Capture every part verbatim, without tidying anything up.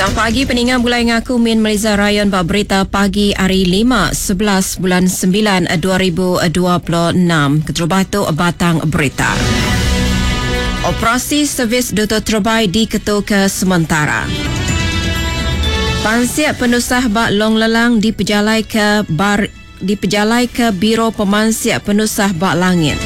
Selamat pagi peninga mulai ngaku Min Meliza Rayon ba berita pagi hari lima sebelas bulan sembilan dua ribu dua puluh enam. Keterubah tu batang berita. Operasi servis Duta Terbai diketu ke sementara. Pansiak penusah bak Long Lelang dipejalai ke bar dipejalai ke Biro Pemansiak Penusah Bak Langit.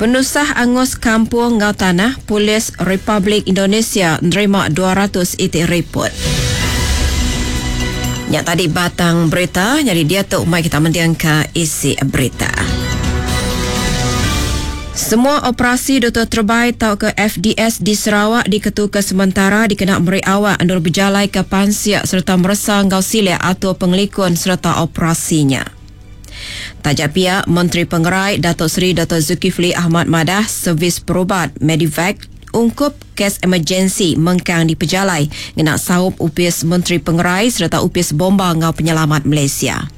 Penusah Angus Kampung Ngau Tanah, Polis Republik Indonesia nerima dua ratus itik report. Nyak tadi batang berita, jadi dia tu mai kita mendiang ke isi berita. Semua operasi Duta Terbai tau ke F D S di Sarawak diketuka sementara dikena meri awak andur berjalai ke pansiak serta meresa ngau silik atau pengelikun serta operasinya. Tajak pihak Menteri Pengerai Datuk Seri Datuk Zulkifli Ahmad Madah servis perubat Medivac ungkup kes emergensi mengkang di pejalai ngena saup upis Menteri Pengerai serta upis Bomba Ngau Penyelamat Malaysia.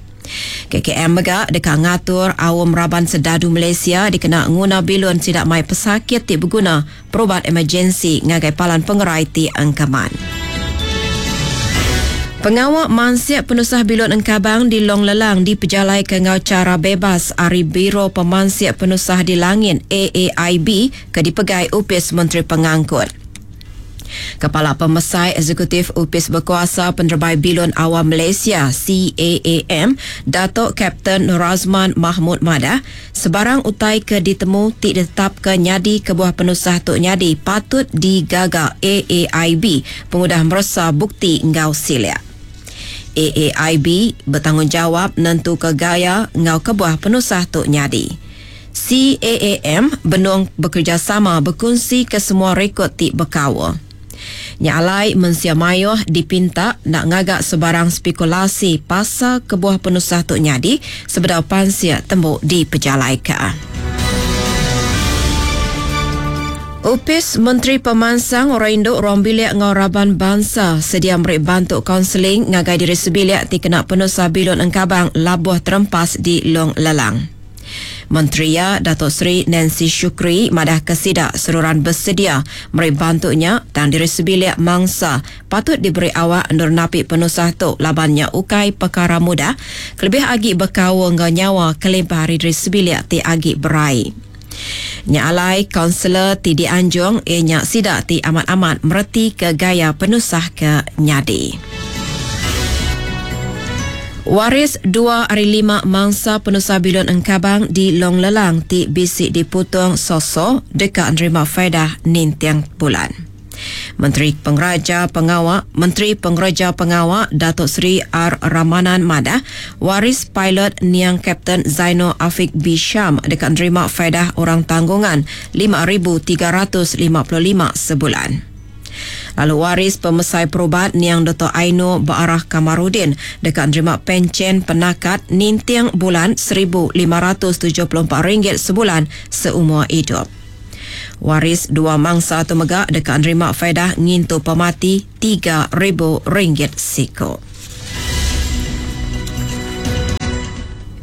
K K M mega dekat ngatur awam raban sedadu Malaysia dikena nguna bilun sidak mai pesakit ti berguna perubat emergensi ngagai palan pengerai ti engkeman. Pengawak mansiak penusah bilun engkabang di Long Lelang dipejalai ke ngau cara bebas ari Biro Pemansiak Penusah di Langit A A I B ke dipegai Upis Menteri Pengangkut. Kepala Pemesai Eksekutif Upis Berkuasa Penerbai Bilun Awam Malaysia C A A M Datuk Kapten Norazman Mahmud Madah sebarang utai ke ditemu ti ditetap ke nyadi ke buah penusah tok nyadi patut digaga A A I B pengudah meresa bukti ngau silik. A A I B bertanggungjawab nentu ke gaya ngau kebuah penusah tok nyadi. C A A M benung bekerjasama berkongsi ke semua rekod ti berkawa. Nyalai mensia mayuh dipinta nak ngagak sebarang spekulasi pasal kebuah penusah tok nyadi sebedau pansia tembuk di pejalaika. Upis Menteri Pemansang Orang Induk Ruang Bilik Ngau Raban Bangsa sedia meri bantu kaunseling ngagai diri sebilik ti kena penusah bilun engkabang labuh terempas di Long Lelang. Menteri ya Datuk Seri Nancy Shukri madah kesidak seruran bersedia meri bantunya dan diri sebilik mangsa patut diberi awak endur napi penusah tu labannya ukai perkara mudah kelebih agi berkawa ngau nyawa kelimpah hari diri sebilik ti agi berai. Nya alai kaunselor ti dianjung ianya sidak ti amat-amat mereti ke gaya penusah ke nyadi. Waris dua hari lima mangsa penusah bilun engkabang di Long Lelang ti bisik diputung sosok dekat nerima faedah nintiang bulan. Menteri Pengeraja Pengawak, Menteri Pengeraja Pengawak Datuk Seri R. Ramanan Madah, waris pilot Niang Kapten Zainal Afiq Bisham dekat nerima faedah orang tanggungan lima ribu tiga ratus lima puluh lima sebulan. Lalu waris pemesai perubat Niang Dato' Aino Baarah Kamarudin dekat nerima pencen penakat nintiang bulan seribu lima ratus tujuh puluh empat ringgit sebulan seumur hidup. Waris dua mangsa tu megak dekat nerima faedah ngintu pemati tiga ribu ringgit siko.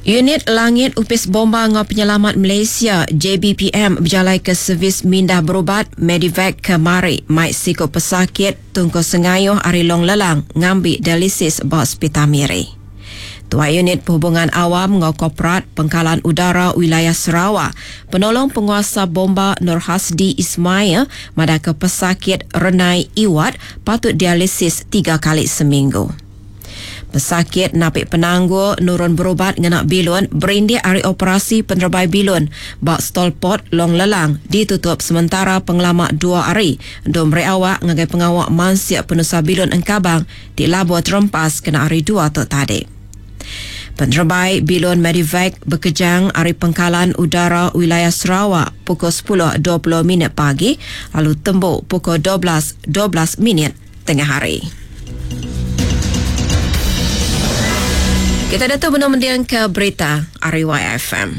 Unit Langit Upis Bomba Ngau Penyelamat Malaysia J B P M berjalai ke servis mindah berubat Medivac ke Mari mai siko pesakit tungku sengayuh ari Long Lelang ngambi dialisis ba Hospital Miri. Tua Unit Perhubungan Awam Ngau Korporat Pengkalan Udara Wilayah Sarawak, penolong penguasa bomba Nur Hasdi Ismail madah ke pesakit Renai Iwat patut dialisis tiga kali seminggu. Pesakit napik penangguh nurun berubat ngena bilun berindik hari operasi penerbai bilun bak stolport Long Lelang ditutup sementara pengelama dua hari untuk meri awak ngagai pengawak mansiak penusah bilun engkabang di Labuan Terempas kena hari dua tu tadi. Penerbai bilun Medivac berkejang hari pengkalan udara wilayah Sarawak pukul sepuluh dua puluh minit pagi lalu tembuk pukul dua belas dua belas minit tengah hari. Kita datang benar mendiang ke berita R Y F M.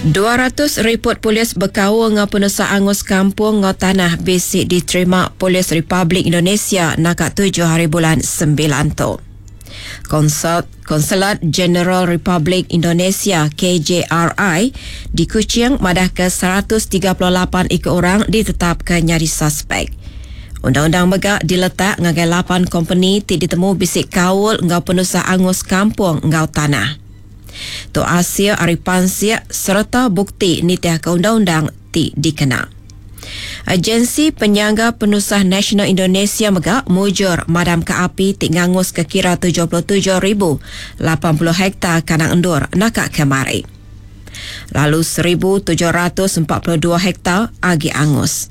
dua ratus report polis berkaul dengan penusah angus kampung ngau tanah basic diterima Polis Republik Indonesia nakak tujuh hari bulan sembilan tu. Konsult Konsulat Jeneral Republik Indonesia K J R I di Kuching madah ke seratus tiga puluh lapan iku orang ditetapkan nyari suspek. Undang-undang mega diletak ngagai lapan kompeni ti ditemu bisik kaul ngau penusah angus kampung ngau tanah. Tu Asia ari pansiak serta bukti nitiah ke undang-undang ti dikena. Agensi Penyangga Penusah Nasional Indonesia mega mujur madam ke api ti ngangus ke kira tujuh puluh tujuh ribu lapan puluh hektar kanang endur nakak kemari. Lalu seribu tujuh ratus empat puluh dua hektar agi angus.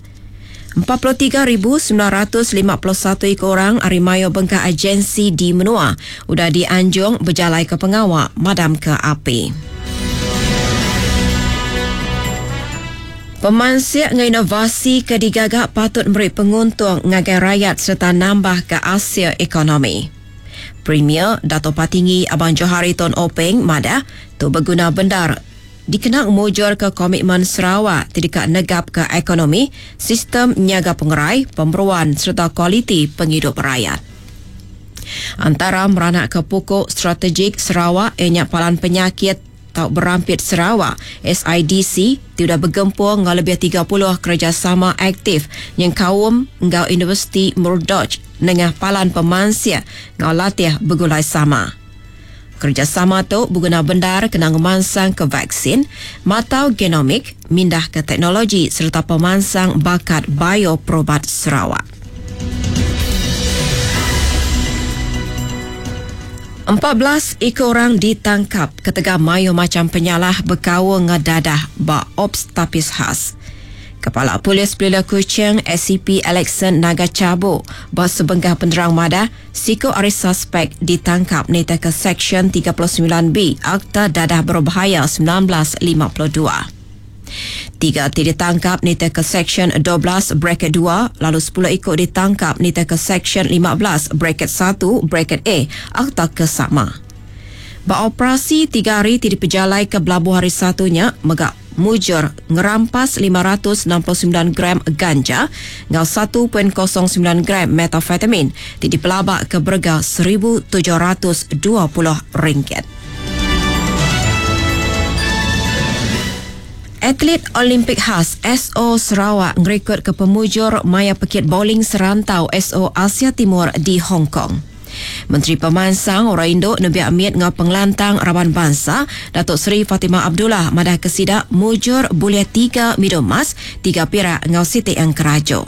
empat puluh tiga ribu sembilan ratus lima puluh satu ekor orang ari mayo bengkah agensi di menua udah dianjung berjalai ke pengawak madam ke api. Pemansiak dengan inovasi ke digagak patut beri penguntung ngagai rakyat serta nambah ke asia ekonomi. Premier Dato' Patinggi Abang Johari Tun Openg madah tu berguna bendar dikena mujur ke komitmen Sarawak tidak negap ke ekonomi, sistem nyaga pengerai, pemberuan serta kualiti penghidup rakyat. Antara meranak ke pokok strategik Sarawak ianya palan penyakit tau berampit Sarawak S I D C tidak bergempung dengan lebih tiga puluh kerjasama aktif yang kaum ngau Universiti Murdoch dengan palan pemansia ngau latih bergulai sama. Kerjasama tu berguna bendar kena ngemansang ke vaksin, matau genomik, mindah ke teknologi serta pemansang bakat bioprobat Sarawak. empat belas ekor orang ditangkap ketika mayu macam penyalah berkawal ngedadah ba Ops Tapis Khas. Kepala Polis Pelila Kuching S C P Alexon Naga Cabo ba sebenggah penerang madah siko ari suspek ditangkap nita ke Seksyen tiga puluh sembilan B Akta Dadah Berbahaya sembilan belas lima puluh dua. Tiga ti ditangkap nita ke Seksyen dua belas bracket dua lalu sepuluh ikut ditangkap nita ke Seksyen lima belas bracket satu bracket A Akta Kesama. Beroperasi tiga hari ti dipejalai ke belabuh hari satunya megak mujur ngerampas lima ratus enam puluh sembilan gram ganja ngau satu titik kosong sembilan gram metafetamin ti dipelabak ke berga seribu tujuh ratus dua puluh ringgit. Atlet Olimpik khas S O Sarawak ngerekod ke pemujur maya pekit bowling serantau S O Asia Timur di Hong Kong. Menteri Pemansang Orang Induk Nabi Amit ngau pengelantang Raban Bangsa Datuk Seri Fatimah Abdullah madah kesidak mujur boleh tiga midul emas, tiga perak ngau Siti Yang Kerajo.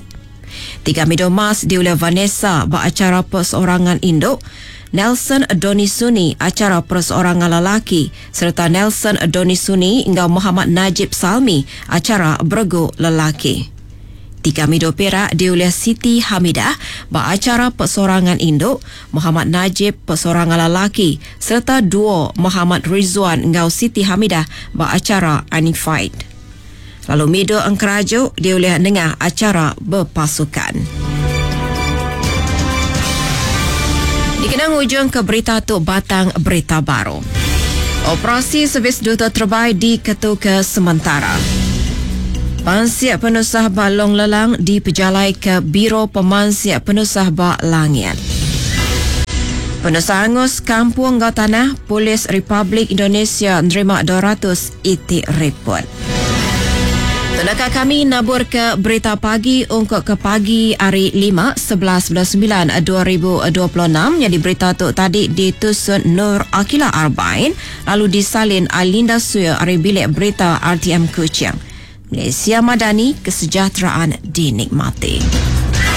Tiga midul emas diulah Vanessa ba acara perseorangan induk, Nelson Donisuni acara perseorangan lelaki serta Nelson Donisuni ngau Muhammad Najib Salmi acara bergu lelaki. Tiga midul perak diulah Siti Hamidah ba acara perseorangan induk, Muhammad Najib perseorangan lelaki serta duo Muhammad Rizwan ngau Siti Hamidah ba acara Unified. Lalu midul engkerajuk diulah nengah acara berpasukan. Dikenang ujung ke berita tu batang berita baru. Operasi servis duta terbaik diketuka sementara. Pansiak penusah balong lelang dipejalai ke Biro Pemansiak Penusah Bak Langit. Penusah angus Kampung Gau Tanah, Polis Republik Indonesia menerima dua ratus itik report. Tenaka kami nabur ke berita pagi untuk ke pagi hari lima, sebelas bulan sembilan, dua ribu dua puluh enam. Yang diberita tu tadi ditusun Nur Akila Arbain, lalu disalin Alinda Suya ari bilik berita R T M Kuching. Malaysia Madani, kesejahteraan dinikmati.